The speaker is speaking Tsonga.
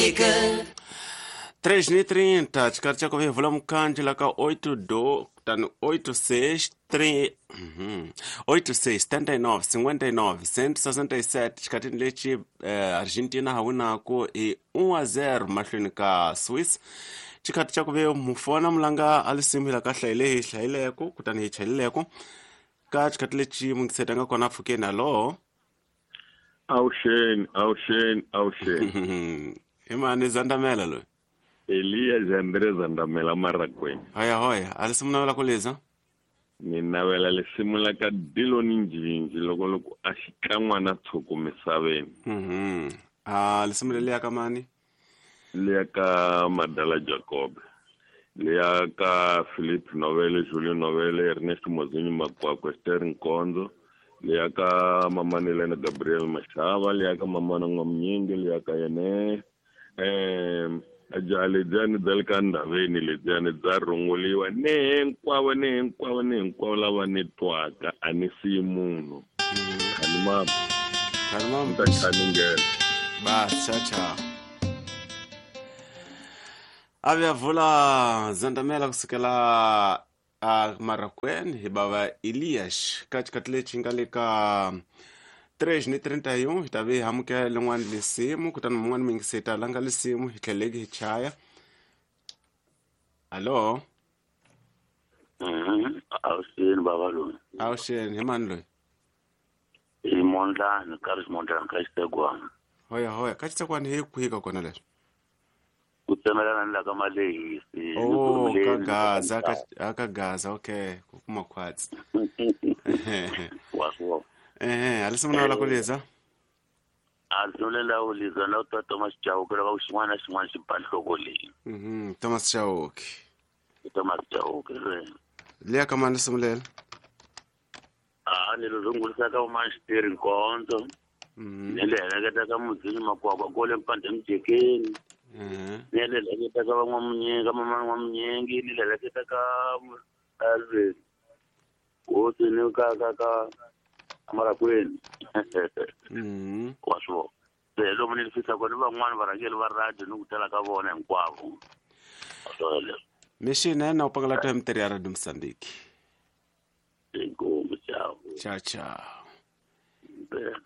Moçambique. 3:30 xikari xa ku vevula mukhandlu la ka 8 do kutani 86 3 86 79 59 167 xikhatini lexi Argentina ha winaku hi 1-0 mahlweni ka Swiss. Xikhathi xa ku ve mufona mulanga a lisimu hi la ka hlayile hi hlayileko kutani hi chayileko ka xikhathi lexi mungiseta nga kona pfukeni. Hallo. Awuxeni, awuxeni, awuxeni. Hi mani Zandamela loyi? Eliya Jandre Zandamela Marakweni. Hoya hoya, a lisimu navela ku liza? Ni navela lisimu la ka Diloni Njinji loko loko a xikan'wana tshuku misaveni. A lisimu leliya ka mani? Liya ka Madala Jacob. Liya ka Philip Novele, Julio Novele, Ernest Mozinyi Makwakwe, Esther Nkonzo. Liya ka Mamani Lena Gabriel Mashava, liya ka Mamana N'wamnyingi, liya ka yene jaha lediyani bya le ka ndhaveni lediyani bya rhunguliwa ni hinkwavo ni hinkwavo ni hinkwavo lava ni twaka a ni siyi munhu. Khani mama. Khani mama. Ni ta khaningela. Bas, ciao ciao. A vuya vula Zandamela kusukela a Marakweni hi bava Elias ka xikhathi lexi nga le ka 3:31 hi ta ve hi amukela lin'wana lisimu kutani mun'wana muyingisi hi ta langa lisimu hi tlheleki hi chaya. Hallo. Awuxeni bava loyi. Awuxeni, hi mani loyi? Hi Mondlani, ka ri Mondlani ka Xitsegwana. Hoya hoya, ka Xitsegwana hi kwihi ka kona leswi? Ku tsemelana ni la ka Malehisi. Oh, ka Gaza, ka Gaza, okay, ku kuma khwatsi. Wa swo. A lisimu na ku liza? A lisimu leri la ku liza na ta Thomas Chauke loko xin'wana na xin'wana xi ba nhloko leyi. Thomas Chauke. Thomas Chauke re. Liya ka mani lisimu leri? A ni ri rungulisa ka Umani Xiteri Nkonzo. Ni le heleketa ka Mudzini Makwakwa kole Mpande Mujekeni. Ni le heleketa ka van'wamunyingi, ka mama N'wamunyingi, ni le heleketa ka Alvin. Hosi ni ka ka ka Marakweni. Wa swo. Se lomu ni fisa kona van'wana varhangeri va radio ni ku tala ka vona hinkwavo. Wa swo leswo. Mixina na u pangala ta mitirho ya Radio Mozambique. Inkomu, ciao. Ciao, ciao. Bye.